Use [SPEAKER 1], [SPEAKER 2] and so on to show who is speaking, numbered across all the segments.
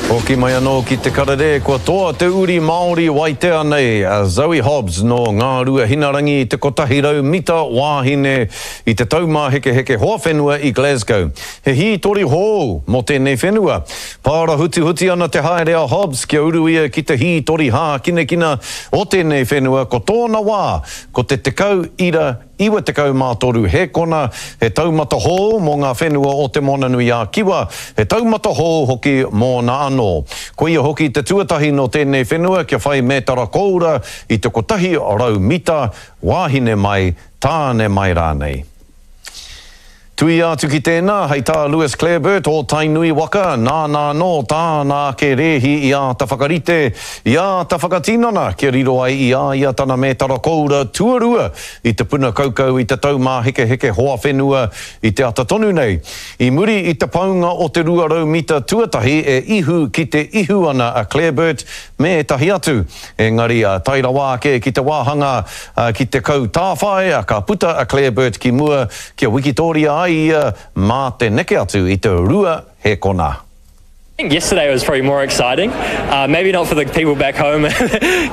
[SPEAKER 1] Hoki mai anō ki te karere, kua toa te uri Māori waitea nei a Zoe Hobbs nō Ngāruahinarangi i te 100 mita wāhine i te Taumāhekeheke Hoawhenua i Glasgow. He hītori hōu mō tēnei whenua. Pārahutihuti ana te haere a Hobbs kia uru ia ki te hītori hākinakina o tēnei whenua ko tōna wā ko te 10 ira 93 hēkona, he taumata hōu mō ngā whenua o Te Moananui-a-Kiwa, he taumata hōu hoki mōna anō. Koia hoki te tuatahi nō tēnei whenua kia whai mētara kōura i te 100 mita, wāhine mai, tāne mai rānei. Tuia atu ki tēnā, hei tā Lewis Clareburt o Tainui waka, nāna anō tāna ake rēhi i āta whakarite, i āta whakatinana kia riro ai i a ia tana mētara koura tuarua i te puna kaukau i te Taumāhekeheke hoa whenua i te ata tonu nei. I muri i te paunga o te 200 mita tuatahi e ihu ki te ihu ana a Clareburt me ētahi atu. Engari, tae rawa ake ki te wāhanga ki te kau tāwhai, ka puta a Clareburt ki mua kia wikitōria ai ia mā te neke atu i te rua hēkona.
[SPEAKER 2] I think yesterday was probably more exciting. Uh, maybe not for the people back home,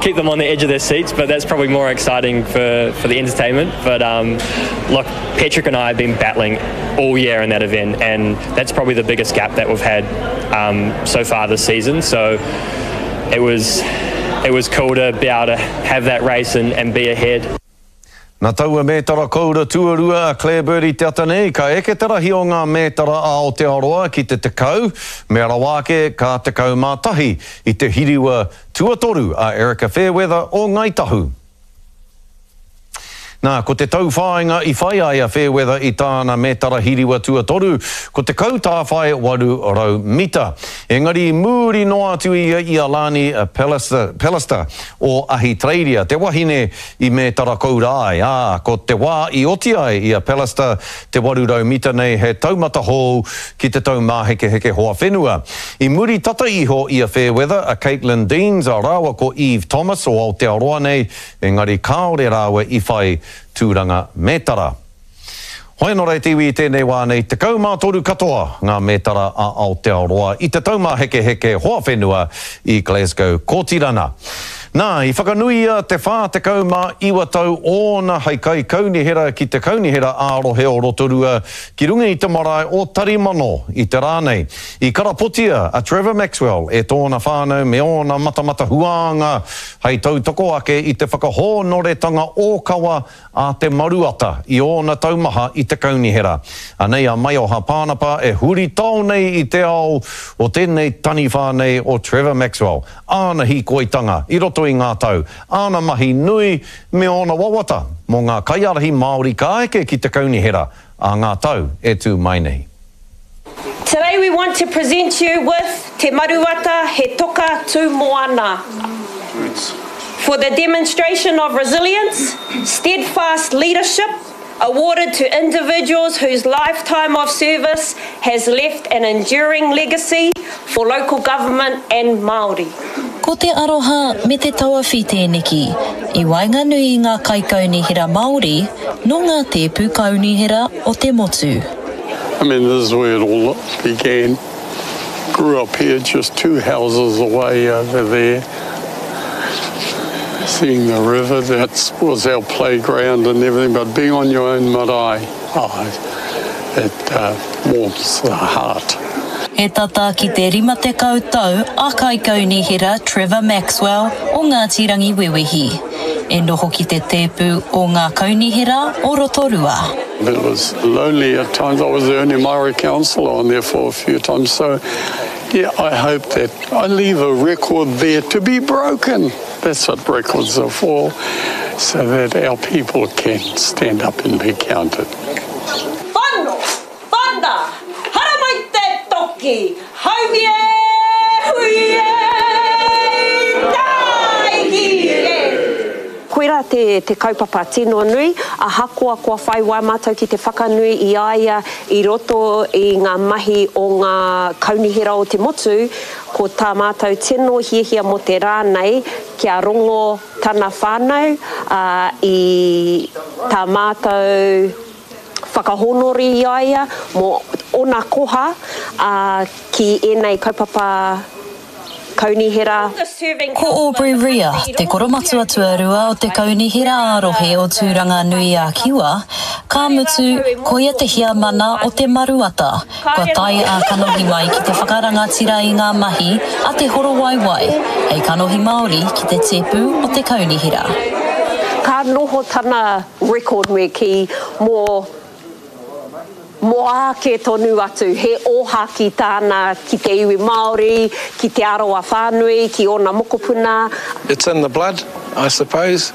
[SPEAKER 2] keep them on the edge of their seats, but that's probably more exciting for, for the entertainment. But um, look, Patrick and I have been battling all year in that event, and that's probably the biggest gap that we've had um, so far this season. So it was it was cool to be able to have that race and, and be ahead.
[SPEAKER 1] Na taua mētara koura tuarua a Claire Bird i te ata nei, ka eke te rahi o ngā mētara a Aotearoa ki te 10, mea rawa ake ka 11 i te hiriwa tuatoru a Erika Fairweather o Ngāi Tahu. Nā, ko te tauwhāinga i whai ai a Fairweather i tāna mētara hiriwa tuatoru, ko te kautāwhai 800 mita. Engari i mūri noa atu ia i a Lani Pallister, Pallister o Ahitereiria, te wahine i mētara koura ai, ā, ko te wā i oti ai i a Pallister te 800 mita nei he taumata hou ki te Taumāhekeheke Hoa Whenua. I muri tata iho i a Fairweather, a Caitlin Deans rāua ko Eve Thomas o Aotearoa nei, Engari kāore rāua i whai tūranga mētara. Hoi anō rā e te iwi i tēnei wā nei, 13 katoa ngā mētara a Aotearoa i te Taumāhekeheke Hoa Whenua i Glasgow, Kōtirana. Nā, i whakanuia te 49 tau ōna hei kaikaunihera ki te Kaunihera ā-Rohe o Rotorua ki runga i te marae o Tarimano i te rā nei. I karapotia a Trevor Maxwell e tōna whānau me ōna matamata huānga hei tautoko ake i te whakahōnoretanga ōkawa a Te Maruata i ōna tau maha i te kaunihera. Anei a Maioha Pānapa e huritao nei i te ao o tēnei taniwha nei o Trevor Maxwell, āna hīkoitanga i roto i ngā tau, āna mahi nui me ōna wawata mō ngā kaiārahi Māori ka eke ki te kaunihera ā ngā tau e tū mai nei.
[SPEAKER 3] Today we want to present you with Te Maruata He Toka Tū Moana for the demonstration of resilience, steadfast leadership awarded to individuals whose lifetime of service has left an enduring legacy for local government and Māori.
[SPEAKER 4] Ko te aroha me te tauawhi tēneki i waenganui i ngā kaikaunihera Māori nō ngā tēpu kaunihera o te motu.
[SPEAKER 5] I mean this is where it all began. Grew up here just two houses away over there. Seeing the river, that was our playground and everything, but being on your own marae, oh, it uh, warms the heart.
[SPEAKER 4] He tata ki te 50 tau a Kaikaunihera Trevor Maxwell o Ngāti Rangiwewehi e noho ki te tēpu o ngā kaunihera o Rotorua.
[SPEAKER 5] It was lonely at times. I was the only Māori councillor on there for a few times. So, yeah, I hope that I leave a record there to be broken. That's what records are for, so that our people can stand up and be counted.
[SPEAKER 3] Whano, whana, haramai te toki, haumi e, hui e, tāiki e. Koirā te, te kaupapa tino nui, ahakoa kua whai wā mātou ki te whakanui i a ia i roto i ngā mahi o ngā kaunihera o te motu, ko tā mātou tino hiahia mō te rā nei kia rongo tana whānau, ā, i tā mātou whakahōnore i a ia mō ōna koha, ā, ki ēnei kaupapa. Kaunihera.
[SPEAKER 4] Ko Aubrey Rea te koromatua tuarua o te Kaunihera ā-Rohe o Tūranga-nui-a-Kiwa, ka mutu, koia te heamana o Te Maruata, kua tae ā-kanohi mai ki te whakarangatira i ngā mahi a Te Horowaiwai hei kanohi Māori ki te tēpu o te Kaunihera.
[SPEAKER 3] Ka noho tana record me kī mō Mō āke tonu atu, he ōhākī tāna ki te iwi Māori, ki Te Arawa whānui, ki ōna mokopuna.
[SPEAKER 6] It's in the blood, I suppose,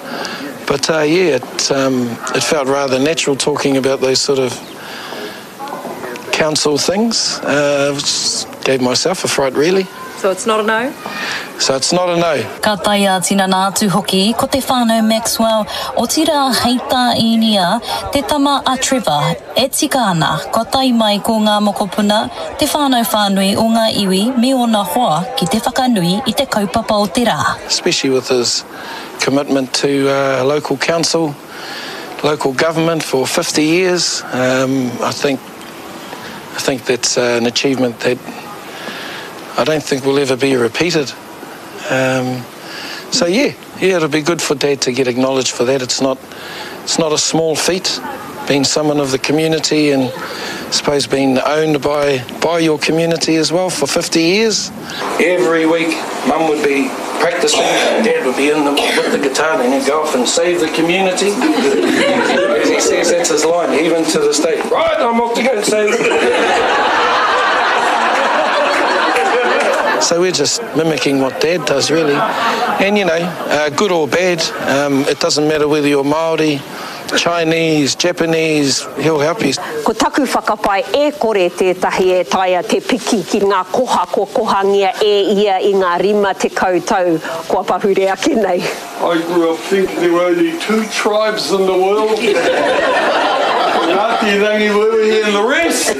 [SPEAKER 6] but yeah, it it felt rather natural talking about those sort of council things, which gave myself a fright really.
[SPEAKER 7] So it's not a no?
[SPEAKER 6] So it's not a no.
[SPEAKER 4] Ka tae ā-tinana atu hoki ko te whānau Maxwell, otirā hei tā Īnia, te tama a Trevor, e tika ana kua tae mai ko ngā mokopuna, te whānau whānui o ngā iwi me ōna hoa ki te whakanui i te kaupapa o te rā.
[SPEAKER 6] Especially with his commitment to local council, local government for 50 years, I think I think that's an achievement that I don't think will ever be repeated. Um, so yeah, yeah, it'll be good for Dad to get acknowledged for that. It's not, it's not a small feat, being someone of the community and I suppose being owned by, by your community as well for 50 years. Every week, Mum would be practicing, Dad would be in the, with the guitar, and he'd go off and save the community. As he says, that's his line, even to this day. Right, I'm off to go and save the So we're just mimicking what Dad does, really. And, you know, uh, good or bad, um, it doesn't matter whether you're Māori, Chinese, Japanese, he'll help you.
[SPEAKER 3] Ko taku whakapae e kore tētahi e taea te piki ki ngā koha kua kohangia e ia i ngā 50 tau kua pahure ake nei.
[SPEAKER 5] I grew up thinking there were only two tribes in the world, Ngāti Rangiwewehi and the rest.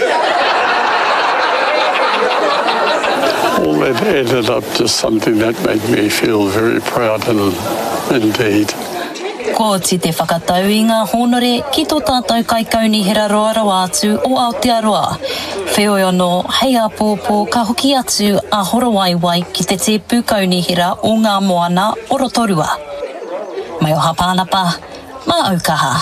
[SPEAKER 5] All that added up to something that made me feel very proud and indeed.
[SPEAKER 4] Kua oti te whakatau i ngā hōnore ki tō tātou Kaikaunihera roa rawa atu o Aotearoa. Wheoi anō, hei āpōpō ka hoki atu a Horowaiwai ki te tēpu kaunihera o Ngā Moana o Rotorua. Maioha Pānapa, mā Aukaha.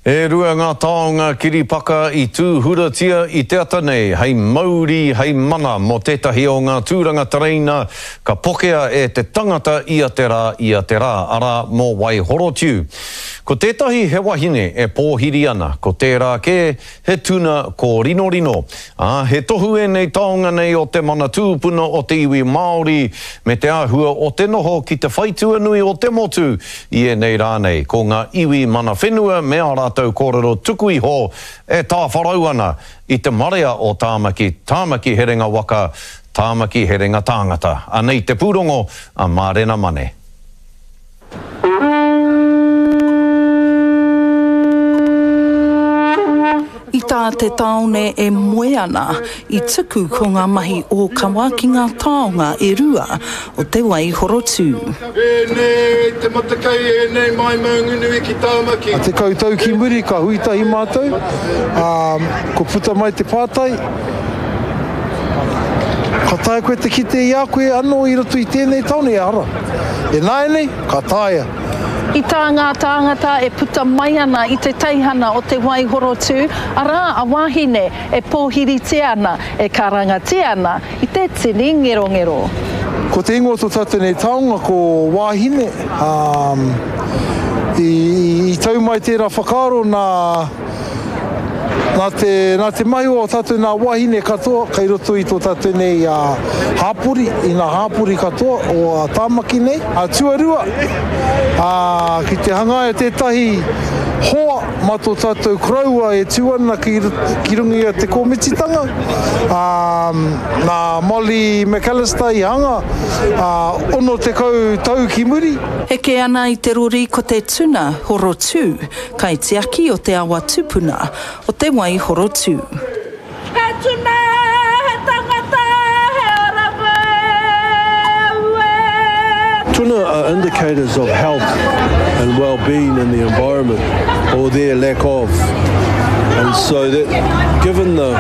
[SPEAKER 1] E rua ngā taonga kiripaka i tūhuratia i te ata nei hei mauri, hei mana mō tētahi o ngā tūranga tereina ka pokea e te tangata ia te rā, ia te rā, arā, mō Waihorotiu. Ko tētahi he wahine e pōhiri ana, ko tērā kē he tuna kōrinorino. Ā, he tohu ēnei taonga nei o te mana tūpuna o te iwi Māori me te āhua o te noho ki te whaitua nui o te motu i ēnei rā nei. Ko ngā iwi mana whenua me ā rātou kōrero tuku iho e tāwharau ana i te marea o Tāmaki, Tāmaki herenga waka, Tāmaki herenga tāngata. Anei te pūrongo a Mārena Mane.
[SPEAKER 8] I tā te tāone e moe ana, i tuku ko ngā mahi ōkawa ki ngā taonga e rua o te wai horotū.
[SPEAKER 5] Ēnei te matakai, ēnei mai Maunganui ki Tāmaki.
[SPEAKER 9] 10 tau ki muri ka hui tahi mātou, ā, kua puta mai te pātai, Ka taea koe te kite i a koe anō i roto i tēnei tāone? Ehara. Ināianei, ka taea.
[SPEAKER 8] I tā ngā tāngata e puta mai ana i te teihana o Te Waihorotū, arā, a Wāhine e pōhiritia ana, e karangatia ana i te tini ngerongero.
[SPEAKER 9] Ko te ingoa o tō tātou nei taonga ko Wāhine, ā, i tau mai tērā whakaaro nā, Nā te, nā te mahi o tātou nā wāhine katoa kei roto i tō tātou nei hāpori, i ngā hāpori katoa o Tāmaki nei. Tuarua, ki te hangaia tētahi hoa mā tō tātou koroua e tū ana ki, ki runga i a Te Kōmititanga, ā, nā Molly McAllister i hanga, ā, 60 tau ki muri.
[SPEAKER 8] Heke ana i te rori ko te tuna horotū. Kaitiaki o te awa tupuna o Te Waihorotū.
[SPEAKER 10] He tuna, he tangata, he ora ue.
[SPEAKER 11] Tuna are indicators of health and well-being in the environment, or their lack of. And
[SPEAKER 7] So that, given the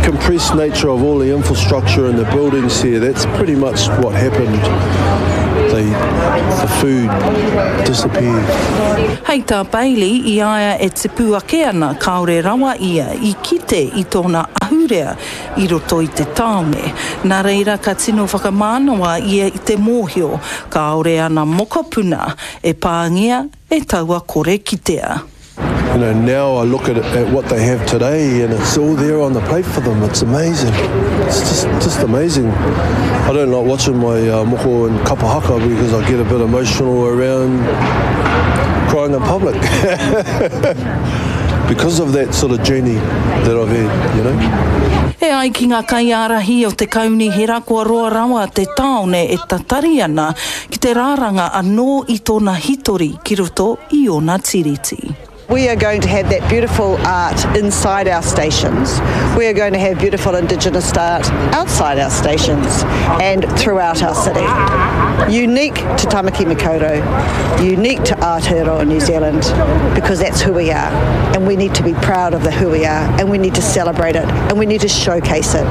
[SPEAKER 7] compressed nature of all the infrastructure and the buildings here, that's pretty much what happened. The, the food disappeared.
[SPEAKER 8] Hei tā Bailey, i a ia e tipu ake ana kāore rawa ia i kite i tōna ahurea i roto i te tāone. Nā reira ka tino whakamānawa ia i te mōhio kāore ana mokopuna e pāngia e taua kore kitea.
[SPEAKER 7] You know, now I look at, at what they have today and it's all there on the plate for them. It's amazing. It's just, just amazing. I don't like watching my uh, moko and kapa haka because I get a bit emotional around crying in public. because of that sort of journey that I've had, you know.
[SPEAKER 8] E ai ki ngā kaiārahi o te kaunihera kua roa rawa te tāone e tatari ana ki te rāranga anō i tōna hitori ki roto i ōna tiriti.
[SPEAKER 11] We are going to have that beautiful art inside our stations. We are going to have beautiful Indigenous art outside our stations and throughout our city. Unique to Tamaki Makaurau, unique to Aotearoa New Zealand, because that's who we are. And we need to be proud of the who we are, and we need to celebrate it, and we need to showcase it.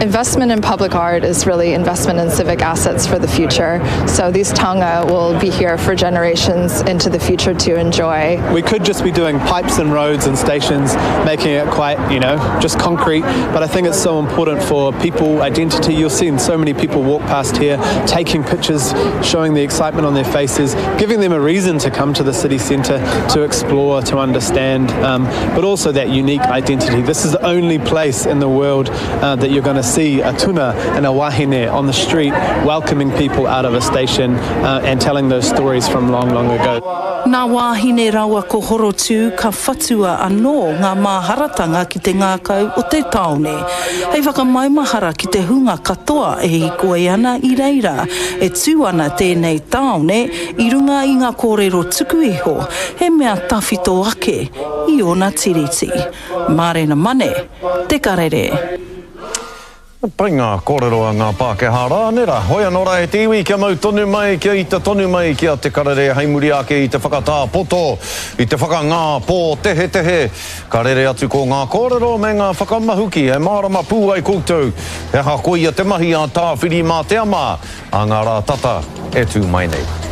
[SPEAKER 12] Investment in public art is really investment in civic assets for the future. So these taonga will be here for generations into the future to enjoy.
[SPEAKER 13] We could just be doing pipes and roads and stations, making it quite, you know, just concrete. But I think it's so important for people, identity. You'll see so many people walk past here, taking pictures, showing the excitement on their faces, giving them a reason to come to the city centre to explore, to understand, um, but also that unique identity. This is the only place in the world uh, that you're going to see a tuna and a wahine on the street welcoming people out of a station uh, and telling those stories from long, long ago.
[SPEAKER 8] Nā Wāhine rawa ko Horotū ka whatua anō ngā māharatanga ki te ngākau o te tāone. Hei whakamaumahara ki te hunga katoa e hīkoi ana i reira, e tū ana tēnei tāone i runga i ngā kōrero tuku iho, he mea tawhito ake i ōna tiriti. Mārena Mane, Te Karere.
[SPEAKER 1] Pai ngā kōrero a ngā Pākehā rā, nē rā? Hoi anō rā e te iwi, kia mau tonu mai, kia ita tonu mai ki a Te Karere hei muri ake i te whakatā poto, i te whakangā pōtehetehe. Ka rere atu ko ngā kōrero me ngā whakamahuki e mārama pū ai koutou he aha koia te mahi a Tāwhirimātea mā ā ngā rā tata e tū mai nei.